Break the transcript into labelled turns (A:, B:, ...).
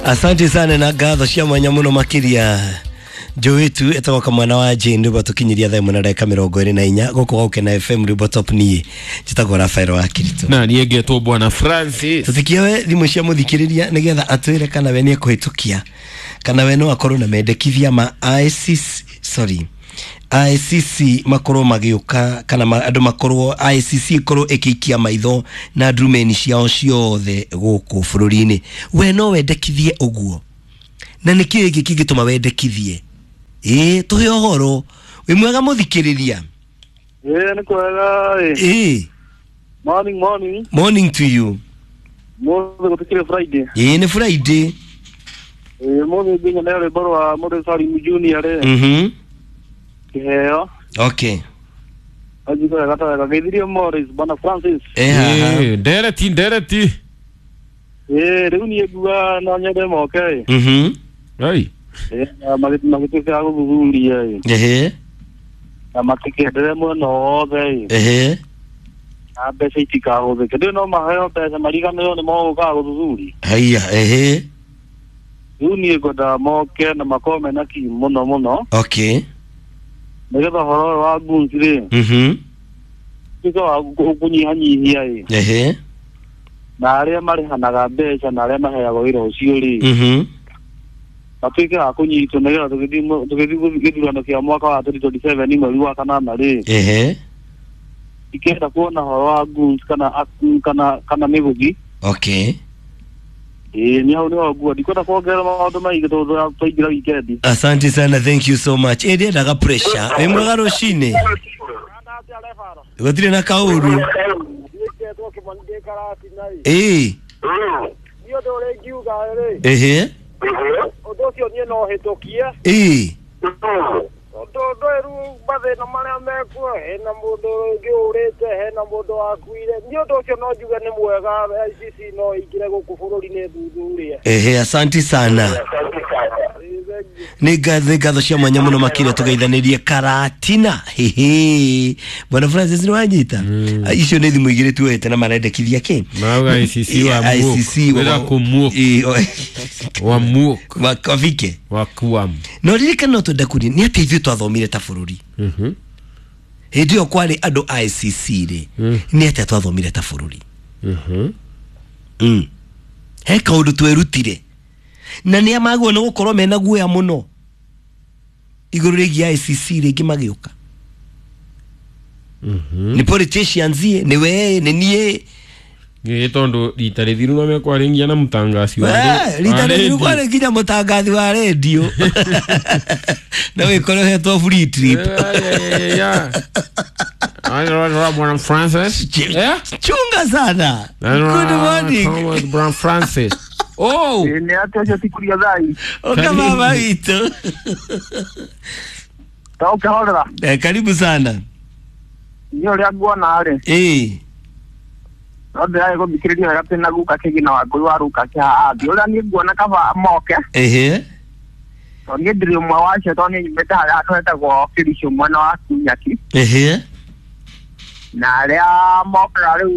A: Asante sana na ngatho cia mwanya muno makiria Jowetu etagwo kamwana wa Jane rwimbo tukinyiria thaa ĩmwe na ndagĩka mĩrongo ĩrĩ na inya gũkũ Gũkena FM rwimbo top niĩ njĩtagwo Rafael wa Kirito.
B: Na niĩ ngetwo Bwana Francis.
A: Tũtikioe thimũ cia mũthikĩrĩria nĩgetha atwĩre kana we nĩekũhĩtũkia kana we no akorwo na mendekithia ma ICC, sorry, ICC makorwo magĩũka kana andũ makorwo ICC ĩkorwo ĩkĩikia maitho na ndurumeni ciao ciothe gũkũ bũrũri-inĩ. We no wendekithie ũguo, na nĩ kĩĩ gĩkĩ kĩngĩtũma wendekithie? Ĩĩ, tũhe ũhoro. Wĩ mwega mũthikĩrĩria?
C: Ĩĩ, nĩ kwega ĩ.
A: Ĩĩ.
C: Morning, morning.
A: Morning to you.
C: Mũthĩ gũtikĩrĩ Friday.
A: Ĩĩ, nĩ Friday.
C: Ĩĩ, mũthĩ nginya rwĩmbo rwa Mũrĩ Salim Junior rĩ. Kĩheo.
A: Okay.
C: Anjigua wega ta wega. Geithirie Morris, Bwana Francis.
A: Eh, haha.
B: Ĩĩ, ndereti ndereti.
C: Ĩĩ, rĩu niĩ nguga no nyende moke ĩ.
B: Ai.
C: Ĩĩ, na magĩtuĩka a gũthuthuria ĩ.
A: Ehe.
C: Na matikendere mwena wothe ĩ.
A: Ehe.
C: Na mbeca itikahũthĩke. Ndĩũ no maheo mbeca mariganĩrwo nĩ mogũkaga gũthuthuria.
A: Haiya, ehe.
C: Rĩu niĩ ngwendaga moke na makorwo mena kinyi mũno mũno.
A: Okay.
C: Nĩgetha ũhoro ũyũ wa goons rĩ tuĩke wa kũnyihanyihia ĩ.
A: Ehe.
C: Na arĩa marĩhanaga mbeca na arĩa maheagwo wĩra ũcio rĩ matuĩke a kũnyitwo nĩgetha tũgĩthiĩ gĩthurano kĩa mwaka wa 2027 mweri wa kanana rĩ.
A: Ehe.
C: Ikĩenda kuona ũhoro wa goons kana mĩgũthi.
A: Okay.
C: Ĩĩ, nĩ hau nĩho nguo ndikwenda kuongerera maũndũ maingĩ tondũ twaingĩra weekend.
A: Asante sana, thank you so much. Ĩ, ndiendaga pressure. Wĩ mwega rũcinĩ? Gũtirĩ na kaũru. Ĩĩ.
D: Niĩ ũndũ ũrĩa ingiuga rĩ,
A: Ehe.
D: ũndũ ũcio niĩ no hĩtũkie.
A: Ĩĩ.
D: Tondũ ndũĩ rĩu mathĩna marĩa mekuo, hena mũndũ ũngĩ ũrĩte, hena mũndũ wakuire. Niĩ ũndũ ũcio no njuge nĩ mwega, ICC no ĩingĩre gũkũ bũrũri-inĩ thuthurie.
A: Ehe, asante sana. Nĩ ngatho cia mwanya mũno makĩria tũgeithanĩrie Karatina. Hehe. Bwana Francis nĩ wanyita? Icio nĩ thimũ igĩrĩ tuoete na marendekithia kĩ?
B: Marauga ICC wa muok.
A: ICC
B: Wĩra kũmuok.
A: Ĩĩ,
B: Wa muok.
A: wafike.
B: Wa kuam.
A: No ririkana no twenda kũria nĩ atĩ ithuĩ twathomire ta bũrũri. Hĩndĩ ĩyo kwarĩ andũ ICC rĩ, nĩ atĩa twathomire ta bũrũri? He kaũndũ twerutire na nĩ amagwo nĩ gũkorwo mena guoya mũno igũrũ rĩgiĩ ICC rĩngĩ magĩũka. Nĩ politicians ĩ, nĩ we nĩ niĩ.
B: Gä tondå rita rä thiru no mekwarä nginya na mũtangaci wa
A: Rita
B: wa
A: rĩthiru
B: radio.
A: kwarĩ nginya mũtangathi wa rendio na wĩkore ũhetwo free trip.
B: Bwana Francis. Eh?
A: Chunga sana. Good morning.
B: Bwana Francis. Oh!
C: Nĩ atĩa ũcio tikuria thai.
A: Oka baba witũ.
C: Ta ũkĩhorera.
A: Eh, karibu sana.
C: Niĩ ũrĩa nguona rĩ,
A: Ĩĩ.
C: no ndĩraĩ gũthikĩrĩria wega twĩna guka kĩgina wa ngũi wa ruka kĩhaha ũrĩa niĩ nguona kaba moke.
A: Ehe.
C: Tondũ niĩ ndirĩ ũmwe wacio tondũ niĩ nyumĩte harĩa handũ hetagwo Kĩricũ mwena wa Kinyaki.
A: Ehe.
C: Na arĩa mokaga rĩu